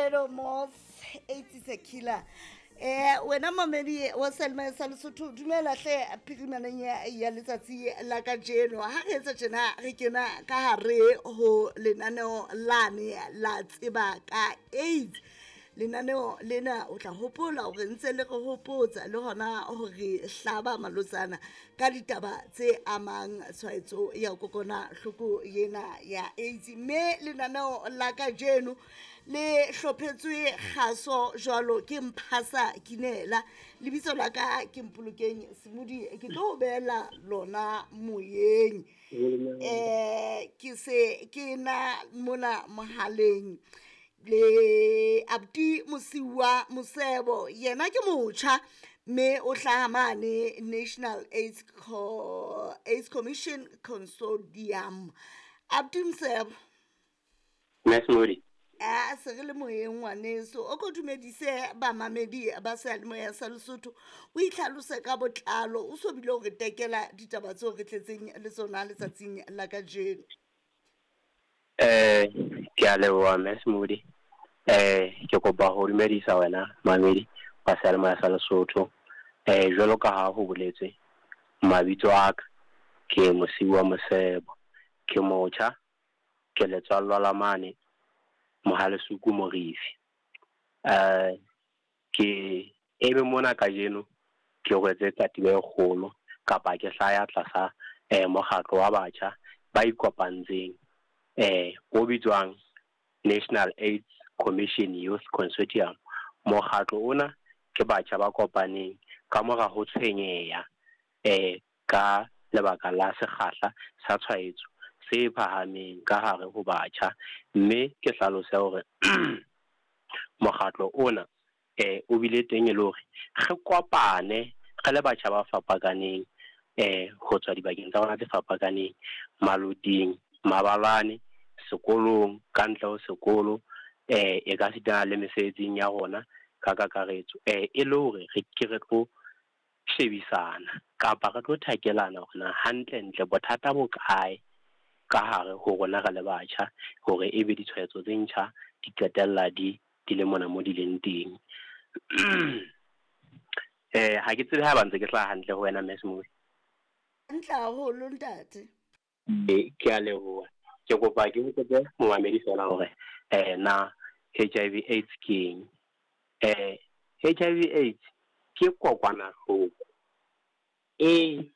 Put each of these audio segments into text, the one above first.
Alfredo Moss, AIDS is a killer. Wena mamedi wa Selma sa Lesotho, dumela hle phirimaneng ya letsatsi la kajeno. Ha re etsa tjena, re kena ka hare ho lenaneo lane la tseba ka AIDS. Lenaneo lena o tla hopola hore ntse le re hopotsa le hona hore hlaba malotsana ka ditaba tse amang tshwaetso ya kokwanahloko ena ya AIDS. Mme lenaneo la kajeno le hlophetswe kgaso jwalo ke Mphasa Kinela. Lebitso la ka ke Mpolokeng Semodi, ke tlo o beela lona moyeng. Ke se ke na mona mohaleng le Abdi Mosiuwa Mosebo, yena ke motjha mme o hlaha mane National AIDS, AIDS Commission Consortium. Abdi Mosebo. Miss Modi. A se re le moyeng ngwaneso, o ko dumedise bamamedi ba seyalemoya sa Lesotho, o itlhalose ka botlalo, o so bile o re tekela ditaba tseo re tletseng le tsona letsatsing la kajeno. Ke a leboha Miss Modi. Ke kopa ho dumedisa wena mamedi wa seyalemoya sa Lesotho. Jwalo ka ha ho boletswe, mabitso a ka ke Mosiuwa Mosebo, ke motjha, ke letswallwa la mane Mohalesuku Morifi. Ke eme mona kajeno ke rwetse katiba e kgolo kapa ke hlaya tlasa mokgatlo wa batjha ba ikopantseng o bitswang National AIDS Commission Youth Consortium. Mokgatlo ona ke batjha ba kopaneng ka mora ho tshwenyeha ka lebaka la sekgahla sa tshwaetso se phahameng ka hare ho batjha, mme ke hlalose hore mokgatlo ona o bile teng e le hore re kopane re le batjha ba fapakaneng ho tswa dibakeng tsa rona tse fapakaneng, maloting, mabalane, sekolong, ka ntle ho sekolo, e ka sitana le mesebetsing ya rona ka kakaretso, e le hore re ke re tlo shebisana kapa re tlo thakelana hore na hantle-ntle bothata bo kae ka hare ho rona re le batjha, hore ebe ditshwaetso tse ntjha di qetella di le mona mo di leng teng. Ha ke tsebe ha ba ntse ke hlaha hantle ho wena Miss Modi. Hantle haholo ntate. Ke a leboha. Ke kopa ke hopotse momamedi fela hore na HIV AIDS ke eng. HIV AIDS ke kokwanahloko e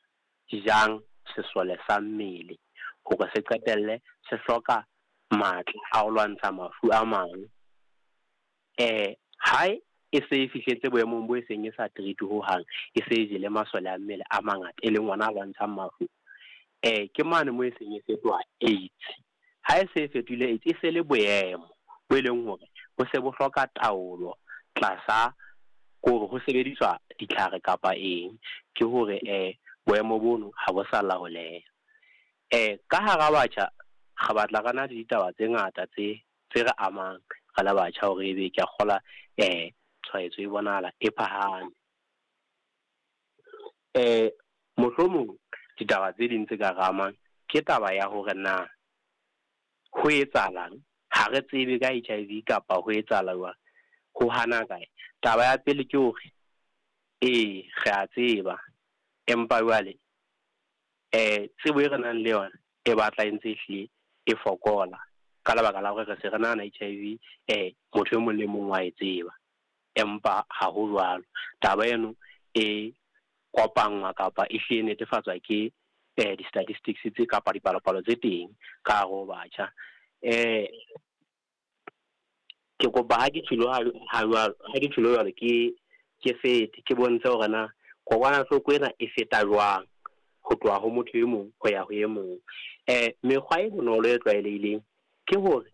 jang sesole sa mmele hore se qetelle se hloka matla a ho lwantsha mafu a mang. Ha e se e fihletse boemong bo e seng e sa treat ho hang, e se e jele masole a mmele a mangata e leng ona a lwantshang mafu. Ke mane mo e seng e fetoha AIDS. Ha e se e fetohile AIDS, e se le boemo bo e leng hore bo se bo hloka taolo tlasa kore ho sebediswa ditlhare kapa eng, ke hore boemo bono ha bo sa laoleha. Ka hara batjha re batla re na le ditaba tse ngata tse re amang re le batjha hore ebe ke a kgola tshwaetso e bonahala e phahame. Mohlomong ditaba tse ding tse ka re amang ke taba ya hore na ho etsahalang, ha re tsebe ka HIV kapa ho etsahala jwang, ho hana kae. Taba ya pele ke hore ee re a tseba, empa jwale tsebo e re nang le yona e batla e ntse e hlile e fokola ka lebaka la hore re se re nahana HIV motho e mong le mong wa e tseba, empa ha ho jwalo. Taba eno e kopanngwa kapa e hlile netefatswa ke di-statistics tse kapa dipalopalo tse teng ka hare ho batjha. Ke kopa ha ke tjholo ha jwalo ke fete ke bontshe hore na kokwanahloko ena e feta jwang ho tloha ho motho e mong ho ya ho e mong. Mekgwa e bonolo e tlwaelehileng ke hore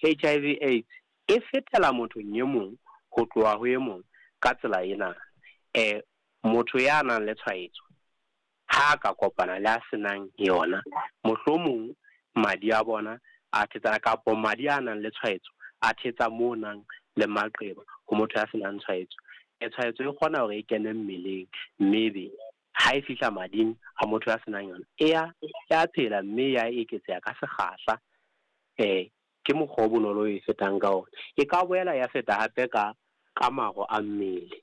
HIV AIDS e fetela mothong e mong ho tloha ho e mong ka tsela ena. Motho ya nang le tshwaetso ha ka kopana le a senang yona, mohlomong madi a bona a thetsana kapa madi a nang le tshwaetso a thetsa mo nang le maqeba ho motho ya senang tshwaetso. Tshwaetso e kgona hore e kene mmeleng, mme ebe ha e fihla mading a motho ya senang yona e ya phela mme ya eketseha ka sekgahla. Ke mokgwa o bonolo e fetang ka ona. E ka boela ya feta hape ka maro a mmele.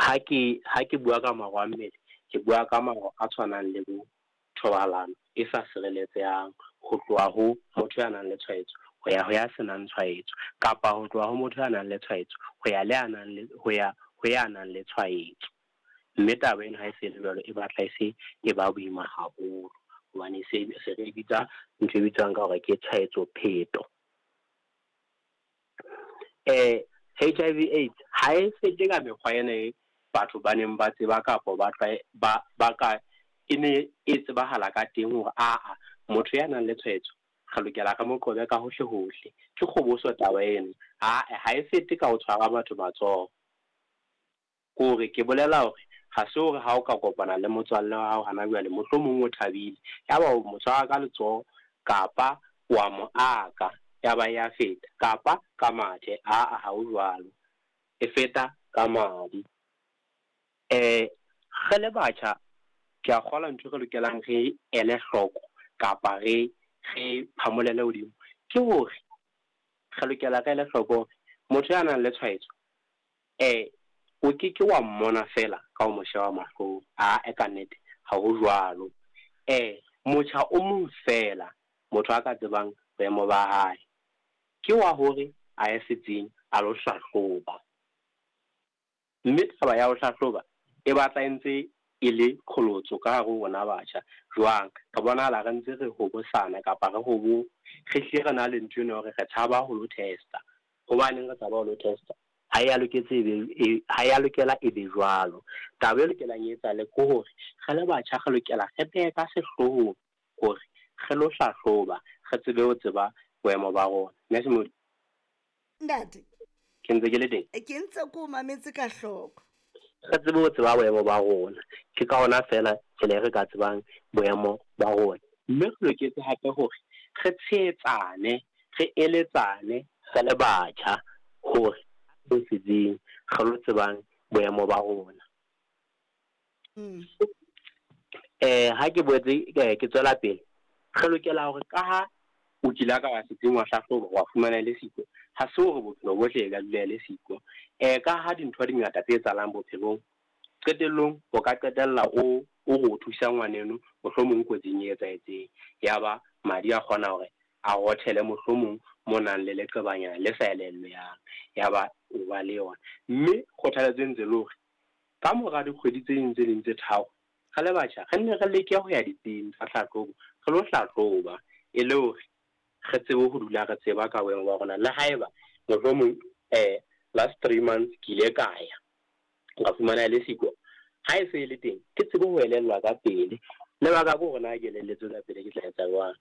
Ha ke bua ka maro a mmele, ke bua ka maro a tshwanang le bo thobalano e sa sireletsehang ho tloha ho motho ya nang le tshwaetso ho ya ho ya senang tshwaetso, kapa ho tloha ho motho ya nang le tshwaetso ho ya le ya nang le ho ya ho ya nang le tshwaetso. Mme taba ena ha e se le jwalo, e batla e se e ba boima haholo, hobane se re bitsa ntho e bitswang ka hore ke tshwaetso pheto. HIV AIDS ha e fete ka mekgwa ena e batho ba neng ba tseba kapa ba ka e ne e tsebahala ka teng hore aa motho ya nang le tshwaetso re lokela re mo qobe ka hohle hohle. Ke kgoboso taba eno. Ha e fete ka ho tshwara batho matsoho. Hore ke bolela hore ha se hore ha o ka kopana le motswalle wa hao hana jwale mohlomong o thabile, yaba o mo tshwara ka letsoho kapa wa mo aka, yaba ya feta, kapa ka mathe. Aa, ha ho jwalo, e feta ka madi. Re le batjha ke a kgolwa ntho e re lokelang re ele hloko kapa re phamolele hodimo ke hore re lokela re ele hloko hore motho ya nang le tshwaetso o ke ke wa mmona fela ka ho mo sheba mahlong. Aa, ka nnete ha ho jwalo. Motjha o mong fela motho a ka tsebang boemo ba hae ke wa hore a ye setsing a lo hlahloba. Mme taba ya ho hlahloba e batla e ntse e le qholotso ka hare ho rona batjha. Jwang? Re bonahala re ntse re hobosana kapa re hlile re na le ntho eno hore re tshaba ho lo testa. Hobaneng re tshaba ho lo testa? Ha ya loketse ha ya lokela e be jwalo. Taba e lokelang e etsahale ke hore re le batjha re lokela re behe ka sehloohong hore re lo hlahloba, re tsebe ho tseba boemo ba rona. Mme Ntate, ke ntse ke le teng, ke ntse ko mametse ka hloko. Re tsebe ho tseba boemo ba rona. Ke ka hona fela tsela e re ka tsebang boemo ba rona. Mme re loketse hape hore re tshehetsane, re eletsane re le batjha hore re setsing re lo tsebang boemo ba rona. Ha ke boetse ke tswela pele, re lokela hore ka ha o kile ka wa setsing wa hlahloba wa fumana le siko, ha se hore bophelo bohle e ka dula le siko. Ka ha dintho di ngata tse etsahalang bophelong, qetellong o ka qetella o re o thusa ngwaneno mohlomong kotsing e etsahetseng, yaba madi a kgona hore a rothele mohlomong mo nang le leqebanyana le sa elellwang, yaba o ba le yona. Mme kgothaletso e ntse le hore ka mora dikgwedi tse ding tse ding tse tharo re le batjha re nne re leke ho ya ditsing tsa hlahlobo, re lo hlahloba e le hore re tsebe ho dula re tseba ka boemo ba rona. Le haeba mohlomong last 3 months ke ile ka ya nka fumana le siko, ha e se e le teng ke tsebe ho elellwa ka pele. Lebaka ke hore na ke elelletswe ka pele ke tla etsa jwang.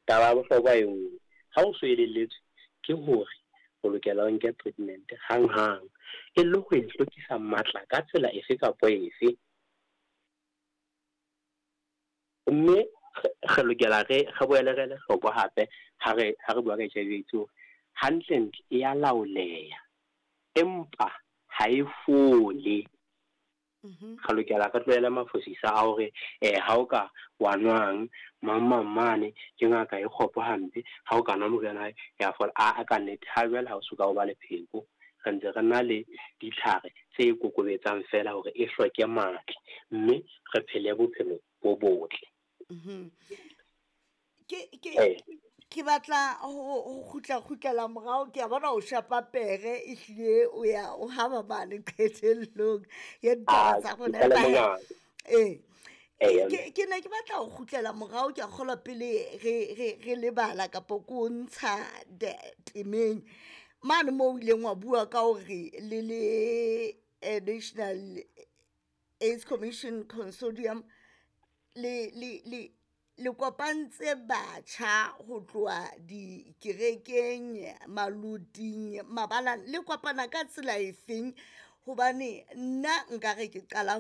Taba ya bohlokwa e nngwe, ha o so elelletswe ke hore o lokela o nke treatment hang-hang e le ho e hlokisa matla ka tsela efe kapa efe. Mme re lokela re boele re ele hloko hape ha re bua ka HIV AIDS hore hantlentle e ya laoleha empa ha e fole. Re lokela re tlohele mafosisa a hore ha o ka wa nwang mang mang mane ke ngaka e kgopo hampe, ha o ka nwa moriana ya fola. A ka nnete ha jwale ha o soka o ba le pheko, re ntse re na le ditlhare tse kokobetsang fela hore e hloke matla mme re phele bophelo bo botle. Ke batla ho kgutla morao. Ke a bona o shapa pere ehlile o ya o haba mane qetellong ya ditaba tsa rona. Ke ne ke batla ho kgutlela morao. Ke a kgolwa pele re lebala kapa ko ntsha temeng mane moo o ileng wa bua ka hore le le National AIDS Commission Consortium le kopantse batjha ho tloha dikerekeng, maluting, mabalane. Le kopana ka tsela efeng? Hobane nna nkare ke qala